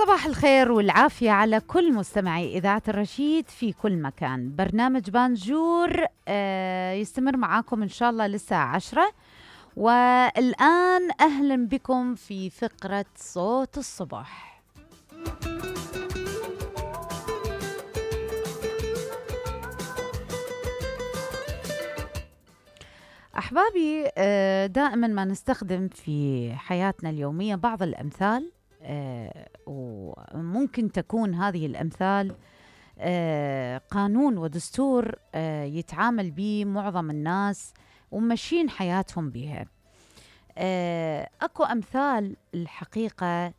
صباح الخير والعافية على كل مستمعي إذاعة الرشيد في كل مكان. برنامج بانجور يستمر معاكم إن شاء الله للساعة 10. والآن أهلا بكم في فقرة صوت الصبح. أحبابي، دائما ما نستخدم في حياتنا اليومية بعض الأمثال، وممكن تكون هذه الأمثال قانون ودستور يتعامل به معظم الناس وماشيين حياتهم بها. أكو أمثال الحقيقة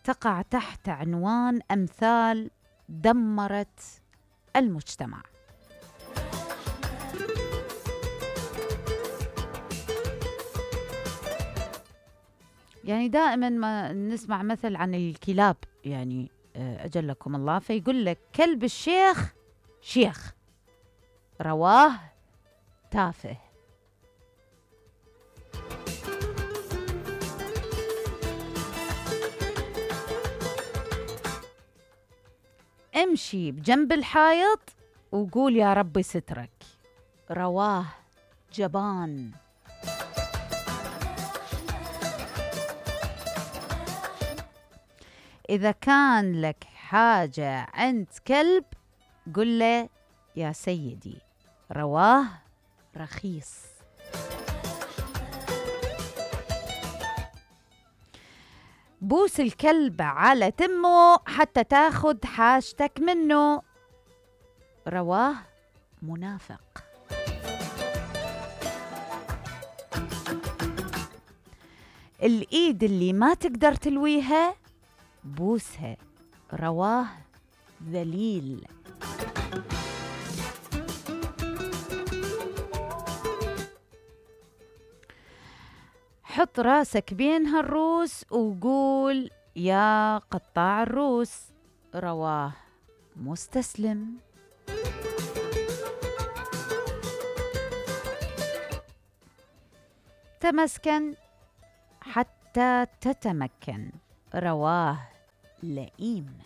تقع تحت عنوان أمثال دمرت المجتمع. يعني دائما ما نسمع مثل عن الكلاب، يعني أجلكم الله، فيقول لك كلب الشيخ شيخ، رواه تافه. امشي بجنب الحائط وقول يا ربي سترك، رواه جبان. إذا كان لك حاجة عند كلب قل له يا سيدي، رواه رخيص. بوس الكلب على تمه حتى تاخد حاجتك منه، رواه منافق. الإيد اللي ما تقدر تلويها بوسها، رواه ذليل. حط راسك بين هالروس وقول يا قطاع الروس، رواه مستسلم. تمسكن حتى تتمكن، رواه لئيم.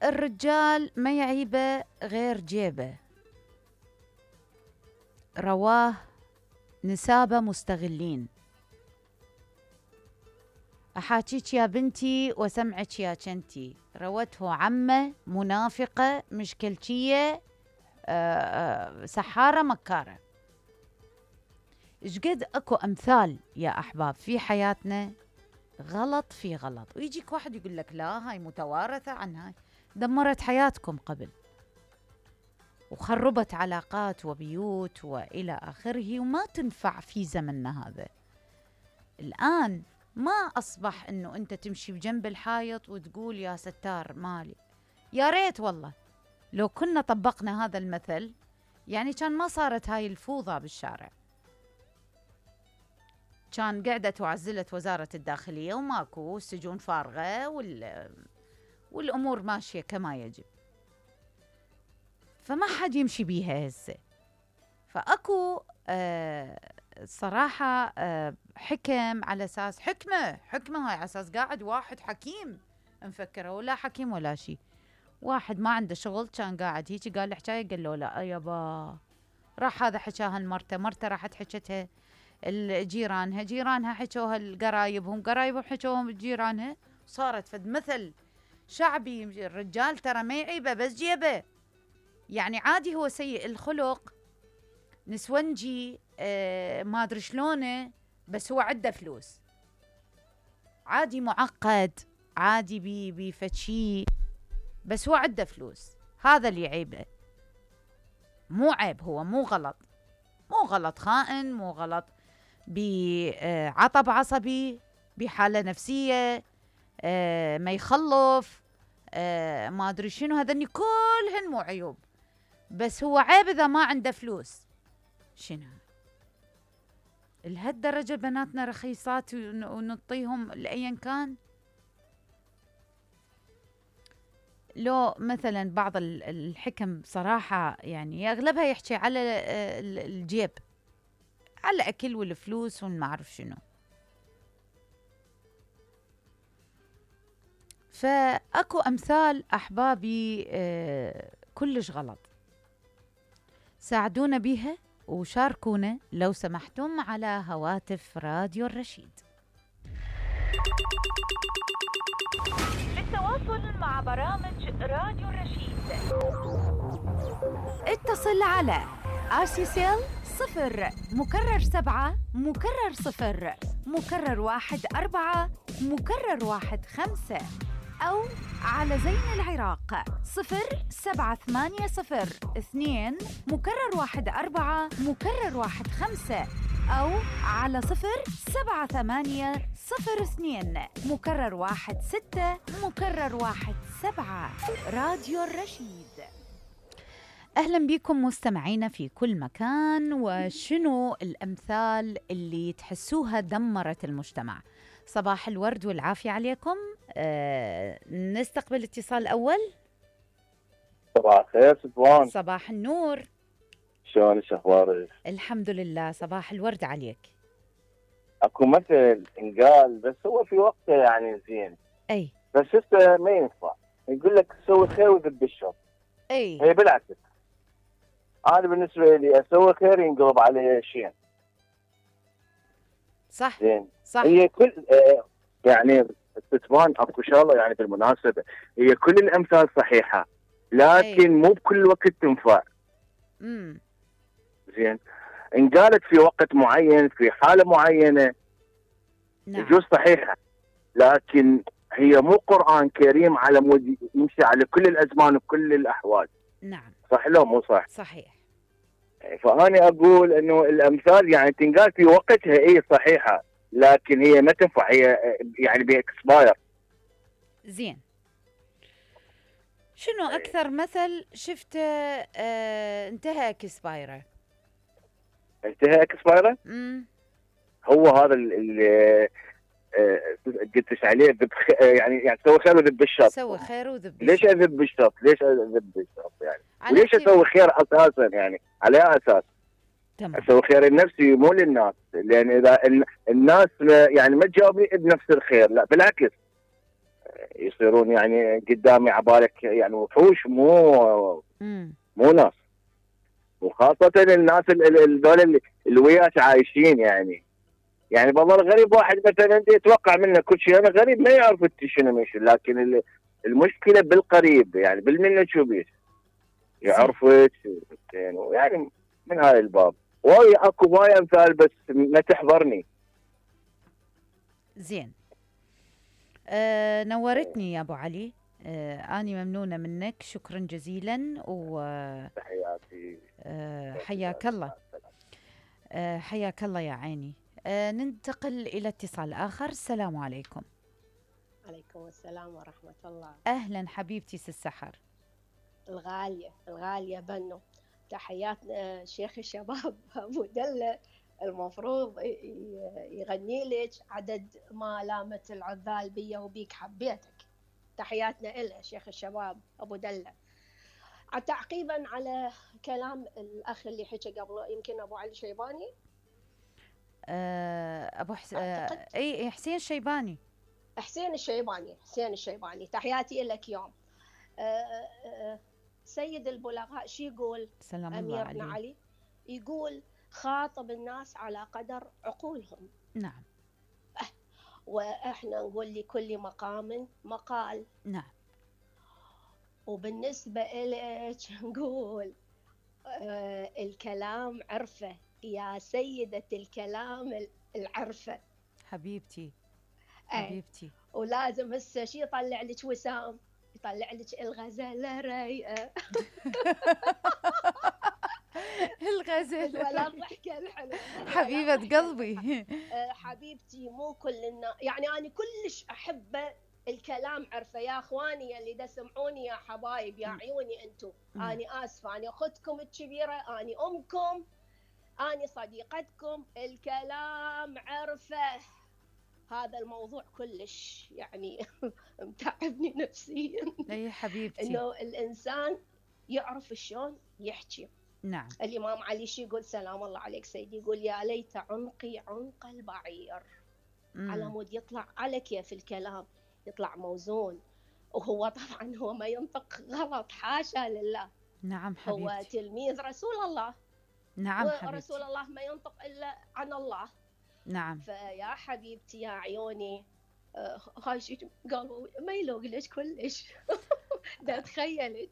الرجال ما يعيبه غير جيبه، رواه نسابة مستغلين. أحاكيك يا بنتي وسمعك يا كنتي، روته عمه منافقة مشكلتية سحارة مكارة. إشقد أكو أمثال يا أحباب في حياتنا غلط في غلط، ويجيك واحد يقول لك لا هاي متوارثة عن هاي. دمرت حياتكم قبل وخربت علاقات وبيوت وإلى آخره، وما تنفع في زمننا هذا. الآن ما أصبح أنه أنت تمشي بجنب الحائط وتقول يا ستار مالي. يا ريت والله لو كنا طبقنا هذا المثل، يعني كان ما صارت هاي الفوضى بالشارع، كان قعدت وعزلت وزارة الداخلية وماكو، السجون فارغة والأمور ماشية كما يجب. فما حد يمشي بيها هسه. فأكو صراحة حكم على أساس حكمة هاي على أساس قاعد واحد حكيم مفكره، ولا حكيم ولا شيء. واحد ما عنده شغل كان قاعد هيك قال له حكاية، قال له لا يابا، راح هذا حكاها مرته راحت حكتها جيرانها حكوها القرايبهم حكوهم جيرانها، صارت فد مثل شعبي. الرجال ترى ما يعيبه بس جيبه، يعني عادي هو سيء الخلق نسونجي ما ادري شلونه، بس هو عنده فلوس. عادي معقد، عادي بفتشي، بس هو عنده فلوس. هذا اللي يعيبه، مو عيب، هو مو غلط خائن، مو غلط بعطب عصبي، بحالة نفسية، ما يخلف، ما أدري شنو، هذني كلهن مو عيوب، بس هو عيب إذا ما عنده فلوس. شنو لهالدرجة بناتنا رخيصات ونعطيهم لأيا كان؟ لو مثلا بعض الحكم صراحة يعني أغلبها يحكي على الجيب، على الأكل والفلوس وما أعرف شنو. فأكو أمثال أحبابي كلش غلط، ساعدونا بيها وشاركونا لو سمحتم على هواتف راديو الرشيد. للتواصل مع برامج راديو الرشيد اتصل على RCCL 0 مكرر 7 مكرر 0 مكرر 1 4 مكرر 1 5 أو على زين العراق 07802 مكرر 1 4 مكرر 1 5 أو على 07802 مكرر 1 6 مكرر 1 7. راديو الرشيد. أهلا بكم مستمعينا في كل مكان. وشنو الأمثال اللي تحسوها دمرت المجتمع؟ صباح الورد والعافية عليكم. نستقبل اتصال أول. صباح الخير سفوان. صباح النور. شلون اخبارك؟ الحمد لله. صباح الورد عليك. اكو مثل انقال بس هو في وقته يعني زين، اي بس هسه ما ينفع. يقول لك سوي خير وذب الشر. اي هي بالعكس، انا بالنسبه لي اسوي خير ينقلب علي شين. صح زين صح. هي كل يعني تبان اكو شغله يعني بالمناسبه، هي كل الامثال صحيحه لكن مو بكل وقت تنفع. زين انقالت في وقت معين في حاله معينه نعم. يجوز صحيحه، لكن هي مو قرآن كريم على مود يمشي على كل الازمان وكل الاحوال. نعم صح لو مو صح؟ صحيح. فأنا أقول أنه الأمثال يعني تنقال في وقتها إيه صحيحة، لكن هي ما تنفع، هي يعني بإكسباير. زين. شنو أكثر مثل شفته انتهى إكسبايره؟ انتهى إكسبايره؟ هو هذا اللي قلتش عليه يعني سوي خير وذب الشر. سوي خير وذب الشر. ليش أذب الشر؟ ليش أذب الشر يعني؟ وليش أسوي خير أساسا يعني؟ على أساس تمام. اسوي خير لنفسي مو للناس، لان اذا الناس يعني ما تجاوبني بنفس الخير، لا بالعكس يصيرون يعني قدامي عبالك يعني وحوش مو ناس. وخاصة الناس الذول اللي وياك عايشين يعني بالله الغريب واحد مثلا يتوقع منه كل شيء، انا غريب ما يعرف انت شنو ماشي، لكن المشكلة بالقريب يعني بالمنة شوبيش يعرفك يعني من هاي الباب. واي اكو واي امثال بس ما تحضرني. زين. نورتني يا ابو علي. اني ممنونه منك، شكرا جزيلا. و تحياتي. حياك الله. حياك الله يا عيني. ننتقل الى اتصال اخر. السلام عليكم. عليكم السلام ورحمه الله. اهلا حبيبتي السحر الغاليه بنو. تحياتنا شيخ الشباب ابو دله، المفروض يغني لك عدد ما لامت العذال بيا وبيك حبيتك. تحياتنا له شيخ الشباب ابو دله. تعقيبا على كلام الاخ اللي حكى قبله، يمكن ابو علي شيباني، ابو اي حسين الشيباني. حسين الشيباني. تحياتي لك يوم. سيد البلغاء شو يقول؟ سلام أميرنا الله علي يقول خاطب الناس على قدر عقولهم. نعم. وإحنا نقول لكل مقام مقال. نعم. وبالنسبة إليك نقول الكلام عرفة يا سيدة الكلام العرفة. حبيبتي. ولازم هسه شي يطلع لك وسام، يطلع لك الغزالة رايقة. الغزالة ولا الضحكة الحلوة حبيبة قلبي. حبيبتي مو كل الناس يعني أنا كلش أحب الكلام عرفه. يا اخواني اللي تسمعوني يا حبايب يا عيوني انتم، أنا آسفة، أنا أختكم الكبيرة، أنا أمكم، أنا صديقتكم. الكلام عرفه هذا الموضوع كلش يعني متعبني نفسيا. اي حبيبتي. انه الانسان يعرف شلون يحكي. نعم. الامام علي شي يقول؟ سلام الله عليك سيدي، يقول يا ليت عنقي عنق البعير، على مود يطلع على كيف الكلام، يطلع موزون. وهو طبعا هو ما ينطق غلط، حاشا لله. نعم حبيبتي. هو تلميذ رسول الله. نعم حبيبتي. ورسول الله ما ينطق إلا عن الله. نعم. فيا حبيبتي يا عيوني، هاي شيء قالوا ما يلوق لك كلش. دا تخيلك.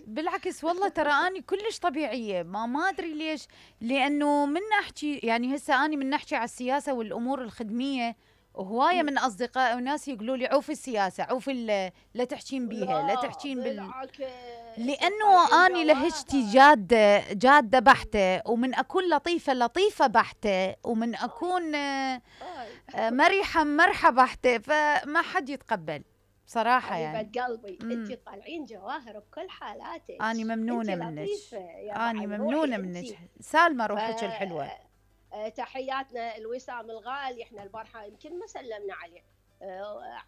بالعكس والله ترى اني كلش طبيعيه، ما ادري ليش، لانه من احكي يعني هسه اني من نحكي على السياسه والامور الخدميه، وهوايه من اصدقائي وناس يقولوا لي عوفي السياسه، عوفي لا تحكين بيها، لا تحكين لانه اني لهجتي جاده بحته، ومن اكون لطيفه بحته، ومن اكون مرحه بحته، فما حد يتقبل صراحة. يعني حبيبة قلبي انت طالعين جواهر بكل حالاتك. اني ممنونة منك، اني ممنونة منك، سالمة روحك الحلوة. تحياتنا الوسام الغالي، احنا البارحة يمكن ما سلمنا عليه.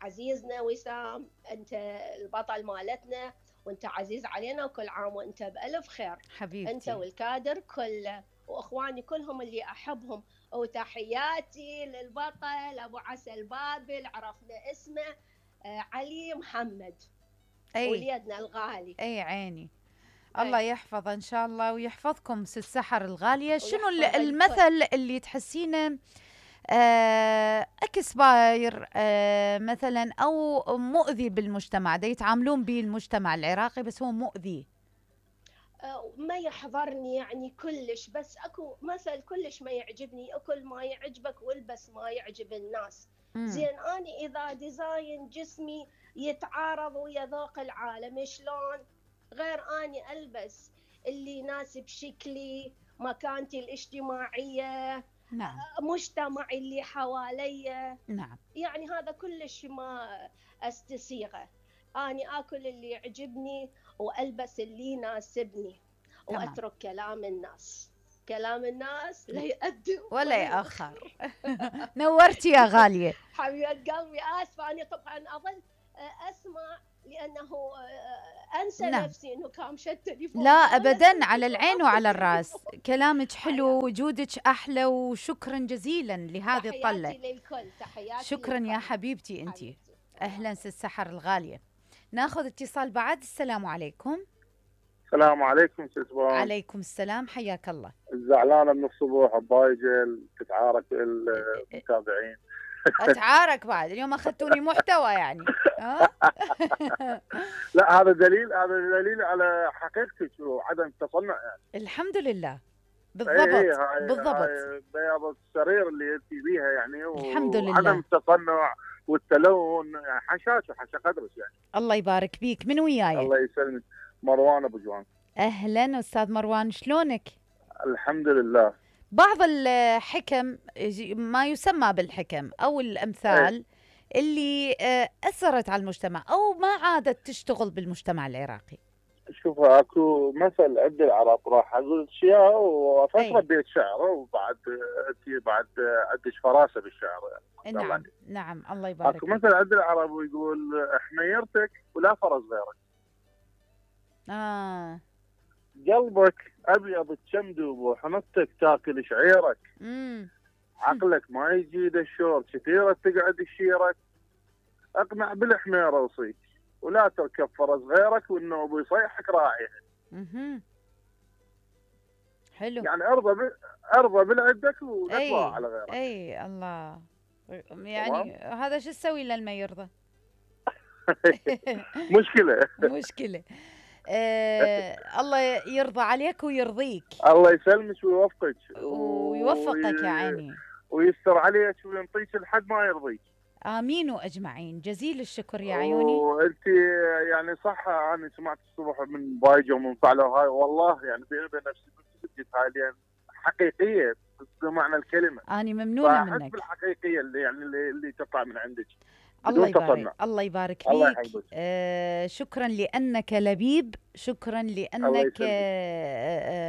عزيزنا وسام، انت البطل مالتنا، وانت عزيز علينا، وكل عام وانت بألف خير حبيبتي. انت والكادر كله، واخواني كلهم اللي احبهم. وتحياتي للبطل ابو عسل بابل، عرفنا اسمه علي محمد، وليدنا الغالي. اي عيني. الله يحفظه ان شاء الله ويحفظكم ست سحر الغاليه. شنو المثل اللي تحسينه اكسباير مثلا او مؤذي بالمجتمع، دا يتعاملون به المجتمع العراقي بس هو مؤذي؟ ما يحضرني يعني كلش، بس اكو مثل كلش ما يعجبني: اكل ما يعجبك والبس ما يعجب الناس. زين اني اذا ديزاين جسمي يتعارض ويا ذوق العالم، شلون غير اني البس اللي يناسب شكلي، مكانتي الاجتماعيه، نعم، مجتمعي اللي حواليا. نعم. يعني هذا كلش ما استسيغه. اني اكل اللي يعجبني والبس اللي يناسبني، واترك كلام الناس. كلام الناس لا يقدم ولا يأخر. نورتي يا غالية. حبيبة قلبي، آسفة أنا طبعا أظل أسمع لأنه أنسى نفسي إنه كان شد تليفون. لا أبدا، على العين وعلى الراس. كلامك حلو، وجودك أحلى، وشكرا جزيلا لهذه الطلة. تحياتي للكل. تحياتي شكرا للكل. يا حبيبتي أنتي. أهلا ست سحر الغالية. ناخذ اتصال بعد. السلام عليكم. السلام عليكم ست سبان. عليكم السلام، حياك الله. زعلانة من الصبح بضايجة تتعارك المتابعين. اتعارك بعد اليوم اخذتوني محتوى يعني. لا هذا دليل على حقيقتك وعدم التصنع يعني. الحمد لله. بالضبط بالضبط. بياض السرير اللي انت بيها يعني، الحمد لله. وعدم التصنع والتلون يعني حاشا قدرك يعني. الله يبارك بيك. من وياي؟ الله يسلمك. مروان ابو جوان. اهلا استاذ مروان، شلونك؟ الحمد لله. بعض الحكم، ما يسمى بالحكم او الامثال اللي اثرت على المجتمع او ما عادت تشتغل بالمجتمع العراقي. شوف اكو مثل عند العرب، راح اقول اشياء وفتره بيت شعر، وبعد انت بعد عندك فراسه بالشعر يعني. نعم نعم الله يبارك. اكو مثل عند العرب ويقول حميرتك ولا فرس غيرك. قلبك ابيض تشمدوب، وحنطتك تاكل شعيرك. عقلك ما يجيد الشور، كثيره تقعد تشيرك. اقنع بالحميره وصيك، ولا تركب فرس غيرك، والنوب يصيحك راعيها. حلو يعني ارضى بالعدك ونطلع على غيرك. اي الله. يعني هذا شو تسوي لما يرضى؟ مشكله. الله يرضى عليك ويرضيك. الله يسلمك ويوفقك ويوفقك يا عيني، ويستر عليك وينطيك لحد ما يرضيك. امين واجمعين. جزيل الشكر يا عيوني. وانت يعني صح، انا سمعت الصبح من بايجه ومن فعله هاي، والله يعني بيني وبين نفسي كنت حاليا حقيقيه بمعنى الكلمه. انا ممنونه منك. بالحقيقيه اللي يعني اللي تطلع من عندك. الله يبارك. الله يبارك بيك. شكرا لأنك لبيب، شكرا لأنك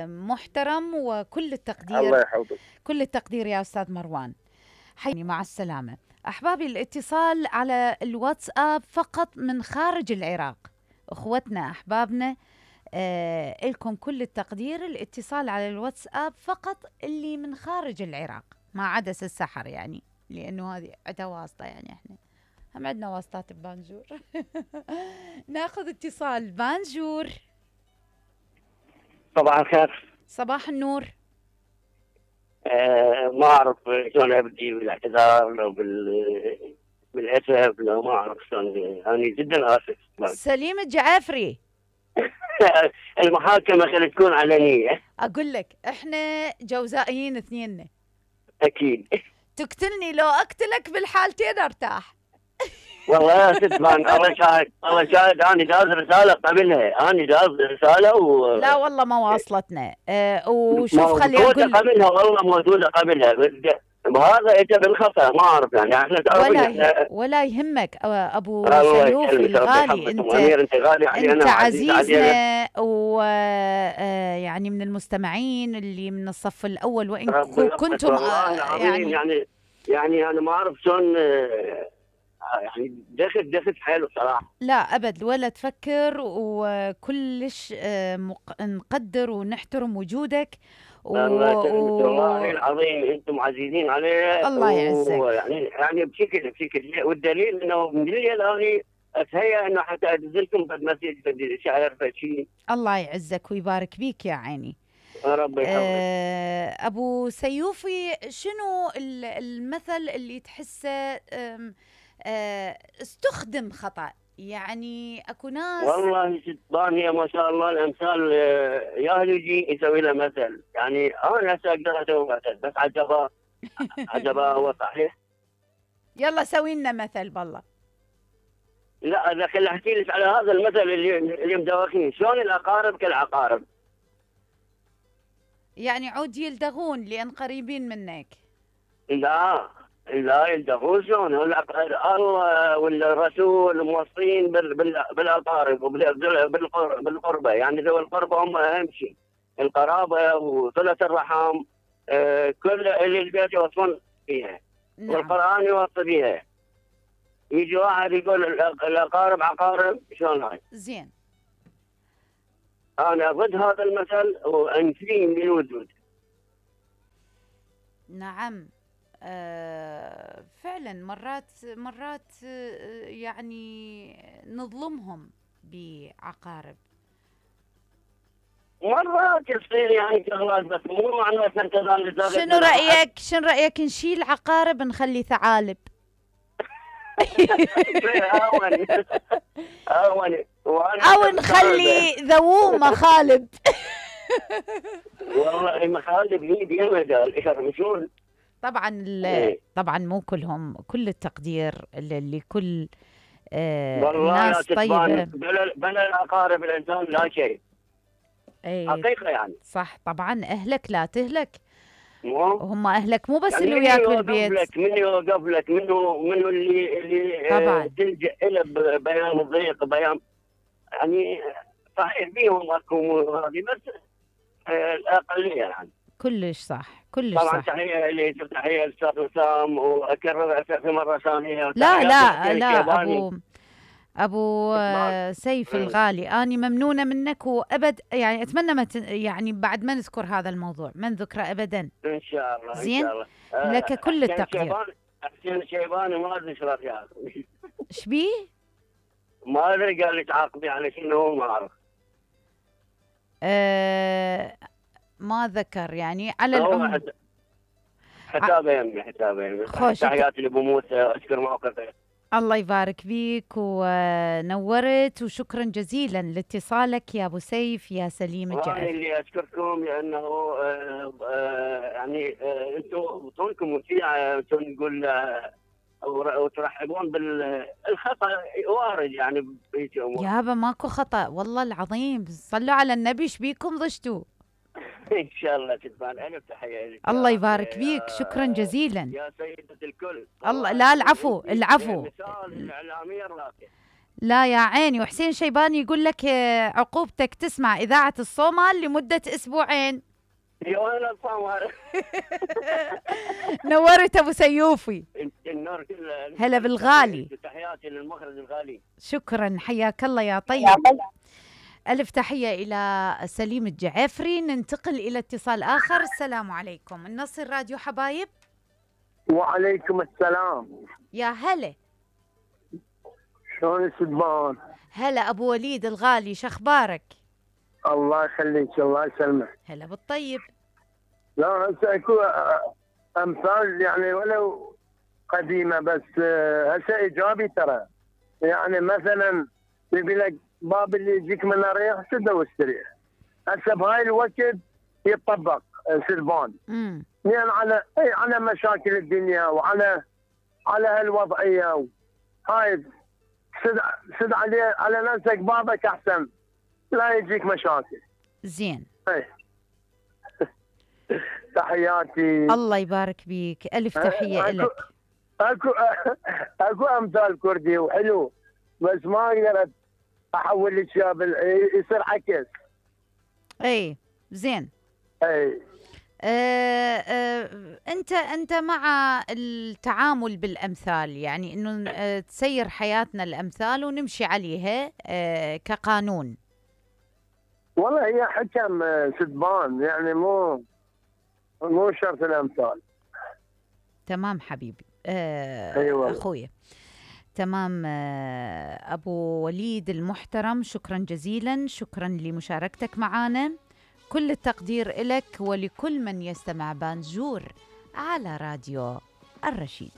محترم، وكل التقدير. الله يحفظك. كل التقدير يا أستاذ مروان. حيني مع السلامة. أحبابي، الاتصال على الواتساب فقط من خارج العراق. أخوتنا أحبابنا، لكم كل التقدير. الاتصال على الواتساب فقط اللي من خارج العراق، ما عدس السحر يعني، لأنه هذه عندها واسطة يعني. احنا هم عندنا واسطات ببانجور. ناخذ اتصال. بانجور. صباح الخير. صباح النور. ما اعرف شلون ابدي بالاعتذار لو بالاسف، لو ما اعرف شلون. انا جدا اسف. سليم الجعافري. المحاكمه خلي تكون علنيه. اقول لك احنا جوزائيين اثنيننا. اكيد. تقتلني لو اقتلك بالحالتين ارتاح. والله يا ست فان، الله شاهد الله شاهد، انا داز رساله قبلها، انا داز رساله لا والله ما واصلتنا. وشوف خلي اقول قبلها، والله موجوده قبلها، وهذا اجى بالخطا، ما اعرف يعني. احنا ولا يهمك ابو سيوفي الغالي، انت غالي علينا، انت عزيزنا، ويعني من المستمعين اللي من الصف الاول، وان كنتم يعني انا ما اعرف شلون يعني دخل حاله صراحه. لا ابد، ولا تفكر، وكلش نقدر ونحترم وجودك. والله العظيم انتم عزيزين عليه. الله يعزك. يعني بشكل والدليل انه من الليل انا اتهيأ انه حتى انزلكم بالمسجد شعر فشي. الله يعزك ويبارك بيك يا عيني. ربي يحفظك. ابو سيوفي، شنو المثل اللي تحسه استخدم خطأ؟ يعني اكو ناس والله ستبان هي ما شاء الله الامثال يا يجي يسوي له مثل، يعني انا هسه اقدر اسوي مثل بس عجبه هو صحيح. يلا سوي لنا مثل بالله. لا اذا خلي احكي لك على هذا المثل اللي مدوخين، شلون الاقارب كالعقارب. يعني عود يلدغون لان قريبين منك. لا يلدغون شلون؟ الله والرسول موصين بالاقارب بالقربه، يعني ذوي القربه هم اهم شيء، القرابه وصله الرحم، كل اللي البيت يوصون فيها. نعم. والقران يوصي بها. يجي واحد يقول الاقارب عقارب، شلون هاي؟ زين. انا ضد هذا المثل وانفيه من وجود. نعم. فعلا مرات يعني نظلمهم بعقارب. مرات يصير يعني شغلات، بس مو معناته انت شنو رايك نشيل عقارب نخلي ثعالب؟ او نخلي ذووم مخالب. والله مخالب هي ديما طبعا مو كلهم، كل التقدير لكل ناس طيبه. بلا الاقارب الانسان لا شيء. حقيقه يعني. صح طبعا، اهلك لا تهلك. هم اهلك مو بس اللي وياك بالبيت. من يوقف لك، منو اللي طبعا تلجأ له بيان ضيق، بيان يعني صحيح فيهم اكو هذه، بس الاقليه يعني. كلش صح، كلش طبعا صح. تحيه للاستاذ وسام، واكرر في مره ثانيه. لا ابو سيف الغالي، اني ممنونه منك، وابد يعني اتمنى يعني بعد ما نذكر هذا الموضوع، ما نذكره ابدا ان شاء الله. زين. ان شاء الله. لك كل التقدير. حسين الشيباني ما ادري ايش رايك. ايش بيه؟ ما ادري، قال لي تعاقبي على شنو، ما اعرف. ما ذكر يعني على العموم. حسابين خوش. تحياتي لابو موسى، اشكر موقفه. الله يبارك بيك ونورت، وشكرا جزيلا لاتصالك يا ابو سيف يا سليم الجعفري. وانا اللي اشكركم لانه يعني انتم طولكم وسيعه، نقول وترحبون بالخطا وارد يعني بهيك امور. يابا ماكو خطا والله العظيم، صلوا على النبي، ايش بيكم ضجتوا؟ ان شاء الله تتفان. الف تحيه لك. الله يبارك بيك، شكرا جزيلا يا سيدة الكل. الله. لا العفو. مثال الاعلاميه الراقيه. لا يا عيني. وحسين شيباني يقول لك عقوبتك تسمع اذاعه الصومال لمده اسبوعين. يا الصامر. نورت ابو سيوفي. النور كله. هلا بالغالي. تحياتي للمخرج الغالي. شكرا، حياك الله يا طيب. ألف تحية إلى سليم الجعفري. ننتقل إلى اتصال آخر. السلام عليكم، النصر راديو حبايب. وعليكم السلام. يا هلا. شلون السدبان؟ هلا أبو وليد الغالي، شخبارك؟ الله يخليك، الله يسلمك. هلا بالطيب. لا هسه اكو امثال يعني ولو قديمه، بس هسه ايجابي ترى. يعني مثلا يبي لك باب اللي يجيك منه ريح سده واستريح. هسه بهاي الوقت يطبق سلبان. يعني على مشاكل الدنيا وعلى هالوضعيه هاي سد على نفسك بابك احسن لا يجيك مشاكل. زين. تحياتي. الله يبارك بيك، ألف تحية لك. اكو امثال كردي وحلو، بس ما اقدر احول لك يصير عكس. اي زين. اي انت مع التعامل بالامثال، يعني انه تسير حياتنا الامثال ونمشي عليها كقانون. والله هي حكم سدبان، يعني مو شرط الامثال. تمام حبيبي. أيوة. اخويا تمام. ابو وليد المحترم، شكرا جزيلا، شكرا لمشاركتك معنا. كل التقدير لك ولكل من يستمع بانجور على راديو الرشيد.